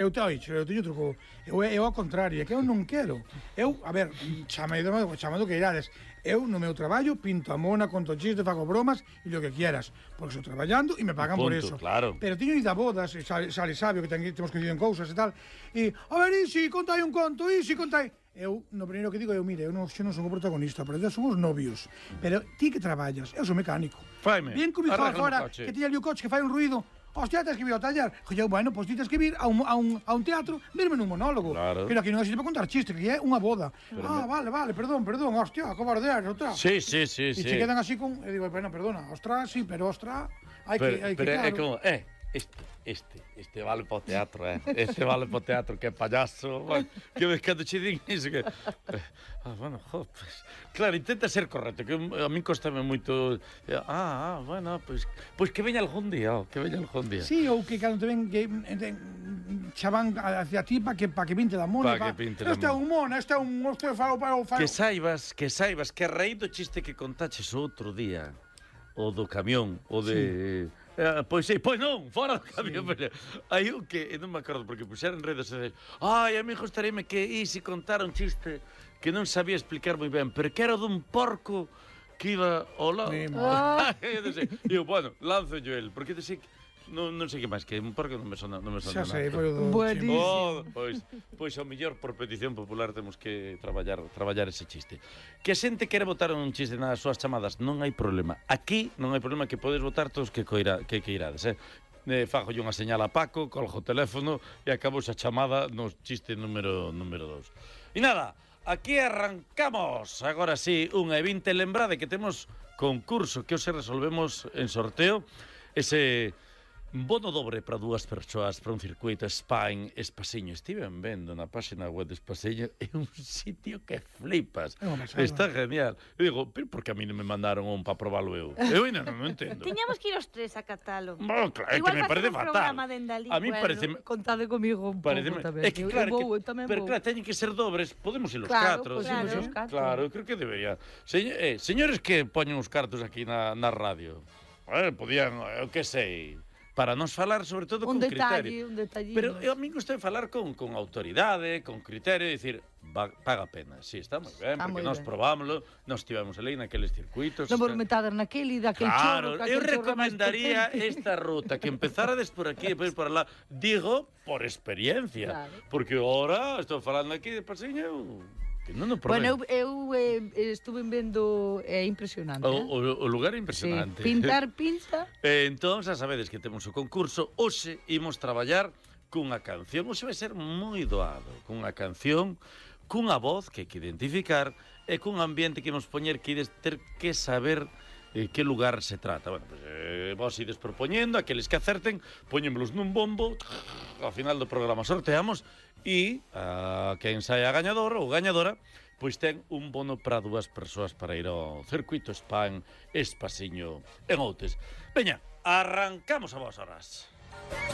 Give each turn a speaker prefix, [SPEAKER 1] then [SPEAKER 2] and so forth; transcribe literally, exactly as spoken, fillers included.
[SPEAKER 1] Eu te oixo, eu teño truco. Eu, eu ao contrario, é que eu non quero. Eu, a ver, chamado, chamado que irades. Eu, no meu traballo, pinto a mona, conto chistes, fago bromas e lo que quieras. Porque estou traballando e me pagan
[SPEAKER 2] Punto,
[SPEAKER 1] por eso.
[SPEAKER 2] Claro.
[SPEAKER 1] Pero teño ido a bodas, e sale, sale sabio que ten, temos coincidido en cousas e tal. E, a ver, Isi, contai un conto, Isi, contai... Eu, no primeiro que digo, eu, mire, eu non, eu non son o protagonista, pero eu son os novios. Pero ti que traballas, eu son mecánico.
[SPEAKER 2] Faime.
[SPEAKER 1] Bien que me fora fora, que tiña ali o coche que fai un ruido. Hostia, tens que vir ao taller. Joder, bueno, pois pues, ti tens que vir a un, a un, a un teatro, verme nun monólogo.
[SPEAKER 2] Claro.
[SPEAKER 1] Pero aquí non existe para contar chistes, que é unha boda. Pero ah, me... vale, vale, perdón, perdón, hostia, cobardear, outra.
[SPEAKER 2] Sí, sí, sí,
[SPEAKER 1] e
[SPEAKER 2] sí.
[SPEAKER 1] se quedan así con... Eu digo, bueno, perdona, ostras, sí, pero ostras, hai
[SPEAKER 2] pero,
[SPEAKER 1] que, hai
[SPEAKER 2] pero
[SPEAKER 1] que, claro.
[SPEAKER 2] é como, eh, este, este, este vale para o teatro, eh. Este vale para o teatro, que é payaso. Bueno, que ves cando che din iso, que... Ah, bueno, jo, pues, claro, intenta ser correcto, que a mí costame moito... Ah, ah, bueno, pues, pues que veña algún día, oh, que veña algún día.
[SPEAKER 1] Sí, ou que cando te ven que xa van hacia ti para que, pa que pinte da mona.
[SPEAKER 2] Pa que pinte da
[SPEAKER 1] este é un mona, este é un... Este fao, fao, fao.
[SPEAKER 2] Que saibas, que saibas, que a raíz do chiste que contaches outro día, o do camión, o de... Sí. Eh, pois sí, pois non, fora do camión, sí. Pero hai un que, non me acordo, porque puxeron en redes sociais, ai, a mí gustaríame que Isi contara un chiste que non sabía explicar moi ben, pero que era dun porco que iba ao lado. Ah. E eu, bueno, lanzo yo el, porque te sei que non, non sei que máis, que un porco non me sona, non me sona
[SPEAKER 1] xa sei,
[SPEAKER 2] nada.
[SPEAKER 1] foi o do...
[SPEAKER 3] Buenísimo.
[SPEAKER 2] Oh, pois, pois ao mellor por petición popular temos que traballar traballar ese chiste. Que a xente quere botar un chiste nas súas chamadas, non hai problema. Aquí non hai problema, que podes botar todos que coira, que que irades, eh. Eh, fago unha señal a Paco, colgo o teléfono e acabo esa chamada no chiste número número dos. E nada, aquí arrancamos. Agora sí, unha e vinte, lembrade que temos concurso que hoxe resolvemos en sorteo. Ese bono dobre para dúas persoas para un circuito Spain Espasiño. Estiven vendo na página web de Espasiño, é un sitio que flipas. Está genial. Eu digo, pero por que a mí non me mandaron un para probarlo eu? Eu ainda non o entendo.
[SPEAKER 4] Tiñamos que ir os tres a catalo.
[SPEAKER 2] Bueno, claro, é que me parece fatal. A mí
[SPEAKER 3] bueno,
[SPEAKER 2] parece...
[SPEAKER 3] Contade comigo un
[SPEAKER 2] parece
[SPEAKER 3] pouco tamén.
[SPEAKER 2] É que claro,
[SPEAKER 3] vou,
[SPEAKER 2] que, pero claro, teñen que ser dobres. Podemos ir os
[SPEAKER 3] claro,
[SPEAKER 2] catro.
[SPEAKER 3] Pues
[SPEAKER 4] claro,
[SPEAKER 3] os catro.
[SPEAKER 2] Claro, eu creo que debería. Señor, eh, señores que poñen os cartos aquí na, na radio, eh, podían, eu que sei... para nos falar sobre todo
[SPEAKER 3] un
[SPEAKER 2] con
[SPEAKER 3] detalle,
[SPEAKER 2] criterio.
[SPEAKER 3] Un detalle,
[SPEAKER 2] Pero eu a mí gusta falar con, con autoridade, con criterio, e dicir, va, paga pena. Sí, está moi ben,
[SPEAKER 3] está
[SPEAKER 2] porque
[SPEAKER 3] moi
[SPEAKER 2] nós
[SPEAKER 3] ben.
[SPEAKER 2] probámoslo, nós tivemos ali naqueles circuitos.
[SPEAKER 3] Non vos
[SPEAKER 2] está...
[SPEAKER 3] metades naquele, daquel
[SPEAKER 2] claro,
[SPEAKER 3] chorro.
[SPEAKER 2] eu recomendaría esta ruta, que empezarades por aquí e depois por lá. Digo, por experiencia. Claro. Porque ahora estou falando aquí de Pasiño, eu... Non o
[SPEAKER 3] bueno, eu, eu eh, estuve vendo, é eh, impresionante.
[SPEAKER 2] O,
[SPEAKER 3] eh?
[SPEAKER 2] o, o lugar é impresionante.
[SPEAKER 3] Sí. Pintar, pinta.
[SPEAKER 2] eh, entón, xa sabedes que temos o concurso. Hoxe imos traballar cunha canción. Hoxe vai ser moi doado. Cunha canción, cunha voz que hai que identificar e cun ambiente que imos poñer que ides ter que saber eh, que lugar se trata. Bueno, pues, eh, vos ides propoñendo, aqueles que acerten, poñémolos nun bombo, ao final do programa sorteamos, e a quen saia gañador ou gañadora, pois ten un bono para dúas persoas para ir ao circuito Spain Espasiño en Outes. Veña, arrancamos a vos horas.